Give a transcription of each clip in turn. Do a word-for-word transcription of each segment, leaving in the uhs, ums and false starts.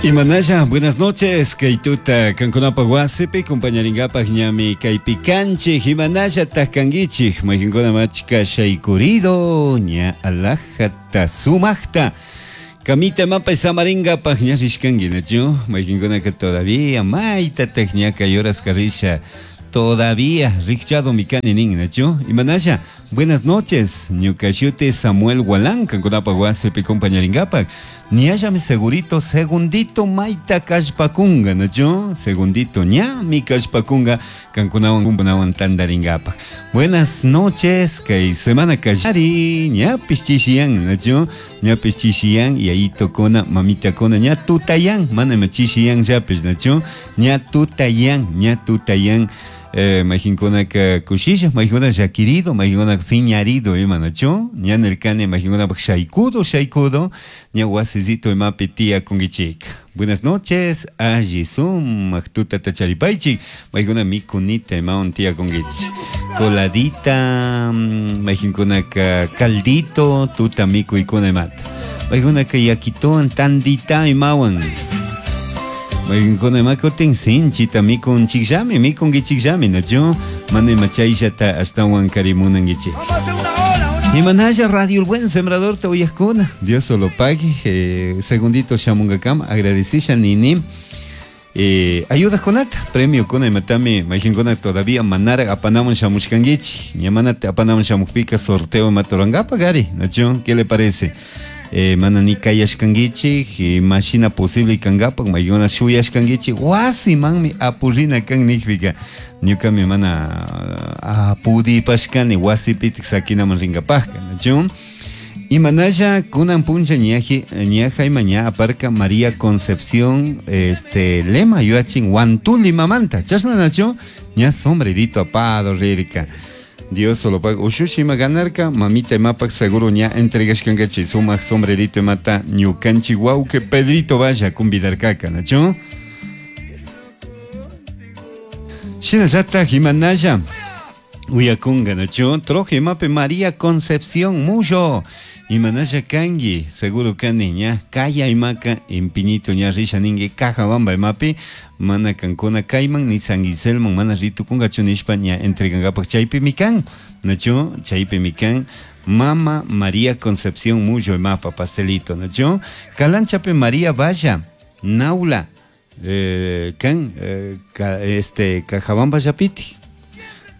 Imanaya, buenas noches, kaytuta kankunapa wasipi compañaringapaj ñami kaypi kanchik, imanaya tajkankichik, mayqinkuna machka shaykurido, ña alajata sumaqta, kamita mapa samaringapaj ña rishkanki, nachu, mayqinkunaka todavía maytataq ña kay horas risha, todavía rikchado mikani nin, nachu, imanaya, buenas noches, ñuka shuti Samuel Gualán, kankunapa wasipi compañaringapaj, ñallami segurito, segundito mayta kallpakunga, nachu, segundito ñami kallpakunga, kankunawan kumpunawan tandaringapaj. Buenas noches, kay semana kallari, ñapis chishiyan, nachu, ñapis chishiyan, yayitukuna, mamitakuna, ña tutayan, mana ima chishiyan llapis, nachu, ña tutayan, ña tutayan, eh, mayqinkunaka kushisha, mayqinkuna llakirido, mayqinkunaka phiñarido ima, nachu, ña nirkani mayqinkunapaq shaykudo, shaykudo, ña wasisito imapi tiyakunkichik. Buenas noches, alli sumaq tutata charipaychik, mayqikuna mikunita imawan tiyakunkichik. Coladita, mayqinkunaka caldito, tuta mikuykuna imata. Mayqinkunaka yakituwan tandita imawan. Mayqinkuna ima kutin sinchita mikunchikllami, mikunkichikllami, nachu, mana ima chayllata ashtawan karimunankichik. Imanaya Radio El Buen Sembrador te uyajkuna, Dios solo pague, eh, segundito shamunkakama, agradecisha nini. Eh, ayuda kunata, premio kuna imatami, mayqinkuna todavía manara apanamun shamushkankichik, ña mana apanamun shamukpika sorteo imata gari, nachu, ¿qué le parece? Eh, mana ni kayashkankichik, imashina posible kankapak, mayqinkuna shuyashkankichik, wasimanmi apurina kan nikpika, ñukami mana apudipashkani wasipitik sakinaman rinkapajka, nachu. Imanaya kunan puncha ñaji, ñaja ima ña aparka María Concepción este lema yuachin Huantuli mamanta, chashna nachu, ña sombrerito apado rirka. Dios solo paga. Ushushi ima ganarka, mamita imapak seguro ña entregashkankachi sumaq sombrerito imata ñukanchik wawqi Pedrito vaya convidarkaka, nachu. Shinallataj imanaya uyakunga, nachu, troje imapi María Concepción Mullo. Imanaya kanki, seguro kani ña kaya imaka empinito ña risha ninki Cajabamba imapi mana kankuna kayman ni San Guiselman mana ritukunkachu nishpa ña entregankapaj chaypi mikan, nachu, chaypi mikan Mama María Concepción Mullo imapa pastelito, nachu, Calanchapi María Valla, Naula, eh, kan, eh, ka, este, Cajabamba llapiti.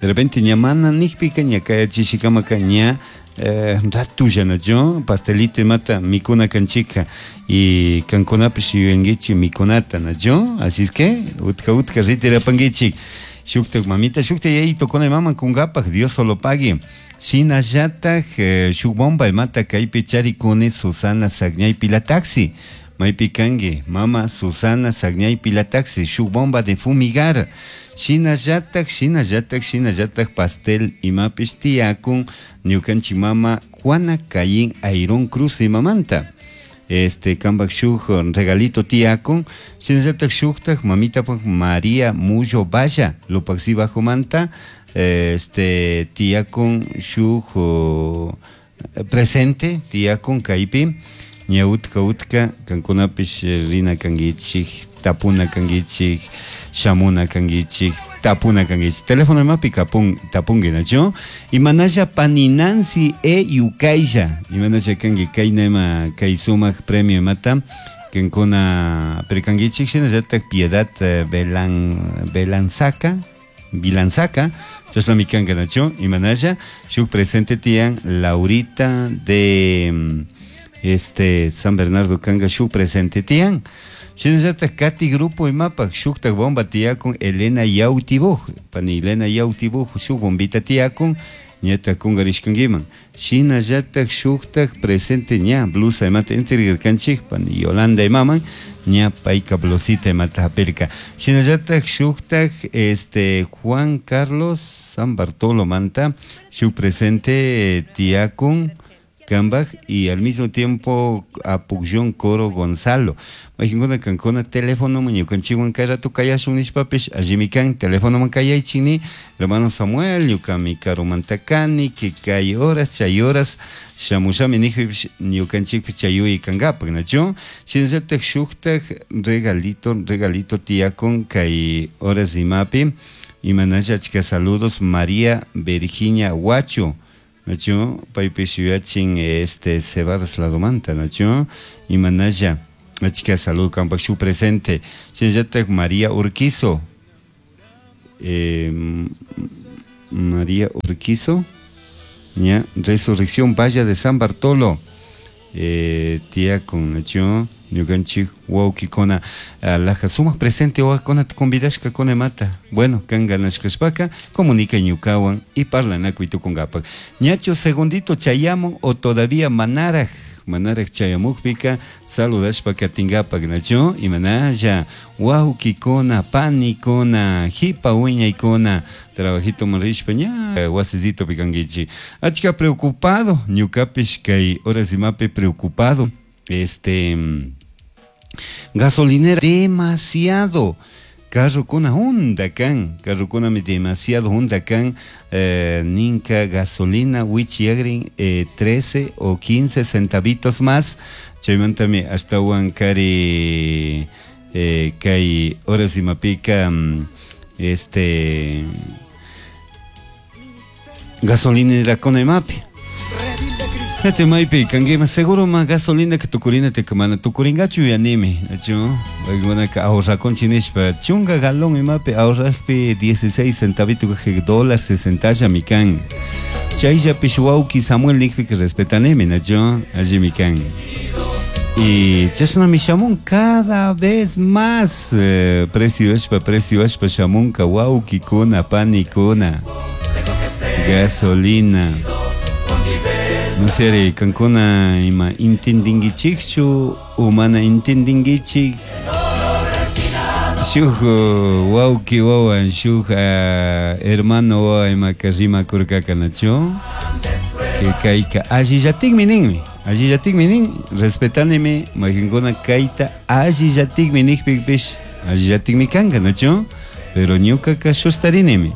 De repente ña mana nikpika ña kaya chishikamaka ña eh, ratulla, nachu, pastelito imata mikuna kanchika y kankunapish yuyankichik mikunata, nachu, así es que utka utka ritirapankichik. Shuktak mamita, shuktak yayitokuna imaman kunkapaj, Dios solo pague. Shinallataj eh, shuk bomba imata kaypi charikuni Susana Sagñay Pilataxi. Maypi kanki, mama Susana Sagñay Pilataxi, shuk bomba de fumigar. Shinallataj, shinallataj, shinallataj pastel imapish tiyakun ñukanchik mama Juana Caín Airón Cruz imamanta. Este, kanpak shuk regalito tiyakun, shinallataj shuktaj mamitapak María Mullo Valla, Lupaxi bajomanta, este, tiyakun shuk uh, presente tiyakun kaypi, ña utka utka kankunapish rina kankichik, tapuna kankichik, shamuna kankichik, tapuna kankichik. Teléfono imapi kapun, tapunki, nachu. Imanaya pani Nancy e Yukaylla. Imanaya kanki kayna ima kay sumaq premio imata kankuna pirkankichik, shinallatak Piedad Belan, Belanzaca, Bilanzaca, chashnami kanka, nachu. Imanaya shuk presente tiyan Laurita de este San Bernardo kanga shuk presente tiyan. Shinallatak Katy Grupo imapak shuktak bomba tiyakun Elena Yautibuj, pani Elena Yautibuj shuk bombita tiyakun ñata kungarishkankiman. Shinallatak shuktak presente ña blusa imata entregarkanchik pani Yolanda imaman ña payka blusita imata hapirka. Shinallatak shuktak este Juan Carlos San Bartolo manta shuk presente tiyakun Kambaj y al mismo tiempo Apucllón Coro Gonzalo. Mayqinkuna kankuna telefonoman ñukanchikwan kay rato kayashun nishpapish allimi kan telefonoman kayaychik hermano Samuel ñukami karumanta kani que kay horas chay horas shamushami nijpipish ñukanchikpish chay kankapak nachu shinallatak shuktak regalito regalito tiyakun kay horas imapi imanalla achka saludos María Virginia Huacho nachu paypish yuyachin este Cebadas ladomanta nachu imanalla achka salud kampak shuk presente shinallatak María Urquizo eh, María Urquizo ña Resurrección Valle de San Bartolo eh, tiyakun nachu ñukanchik wawkikuna laja sumak presente wawakuna convidashka kuna mata bueno kan ganashkashpaka comunica ñukawan y parlanakuy tukunkapak ñachu segundito chayamun o todavía manaraj manaraj chayamukpika saludashpa katinkapak nachu imanalla wawkikuna panikuna hipa wiñaykuna trabajito rishpa ña wasisitopi kankichik achka preocupado ñukapish kay horas imapi preocupado este gasolinera demasiado carrokuna hunda kan carrokunami demasiado hunda kan eh, ninka gasolina wichiyagrin eh, trece o quince centavitos más chaymantami ashtawan kari eh, kay horas imapika este gasolinera imapi Ete maypi kankima seguro ma gasolina que tukurina te mana tukuringachu yanimi nachu ka ahorrakunchik nishpa chunka galón imapi ahorrakpi dieciséis centavito dólar sesentallami kan chayllapish wawki Samuel nikpika respetanimi nachu allimi kan y chashnami shamun cada vez más eh, precio ashpa precio ashpa shamunka wawkikuna panikuna gasolina no sé, kankuna ima intendinkichikchu o mana intendinkichik shuk wawki wawan shuk hermano wawa imaka rimakurkaka nachu que kayka allillatikmi ninmi allillatikmi nin respetanimi mayqinkuna kayta allillatikmi nikpipish allillatikmi kanka nachu pero ñukaka shustarinimi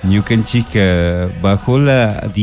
ñukanchika bajo la